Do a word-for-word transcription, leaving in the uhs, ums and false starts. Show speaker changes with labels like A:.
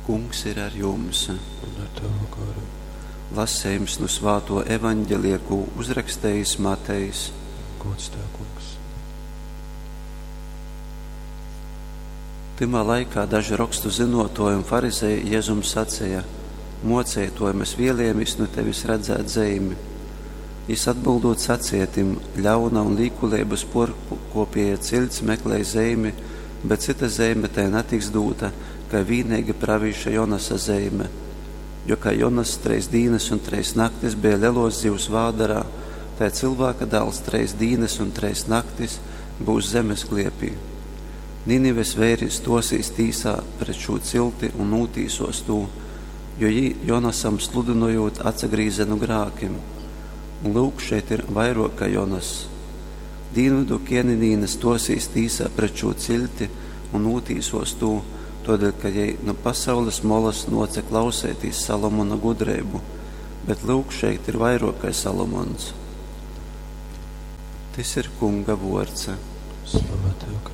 A: Kungs ir ar jums.
B: Un ar tavu goru.
A: Lasejums nu svātō Evangelija, kū uzrakstejis Matejs.
B: Gods tev, Kungs.
A: Tymā laikā daži rokstu zynōtōji un farizeji Jezum saceja: Mōceitōj, mes vēlejamīs nu tevis redzēt zeimi. Jys atbyldūt saceja tim: Ļauna un līkuleibas pōrkōpēja ciļts meklej zeimi, bet cyta zeime tai natiks dūta, kai vīneigi pravīša Jonasa zeime. Jo kai Jonass trejs dīnas un trejs naktis beja lelōs zivs vādarā, tai Cylvāka Dāls trejs dīnas un trejs naktis byus zemes kliepī. Ninives veiri stōsīs tīsā pret šū cilti un nūtīsōs tū, jo jī, Jonasam sludynojūt, atsagrīze nu grākim. Un, lyuk, šeit ir vairōk kai Jonass. Dīnvydu kēninīne stōsīs tīsā pret šū ciļti un nūtīsōs tū, tōdēļ ka jei nu pasaules molas nōce klauseitīs Salomona gudreibu, bet, lyuk, šeit ir vairōk kai Salomons. Tys ir Kunga vōrds.
B: Slava tev, Kristus.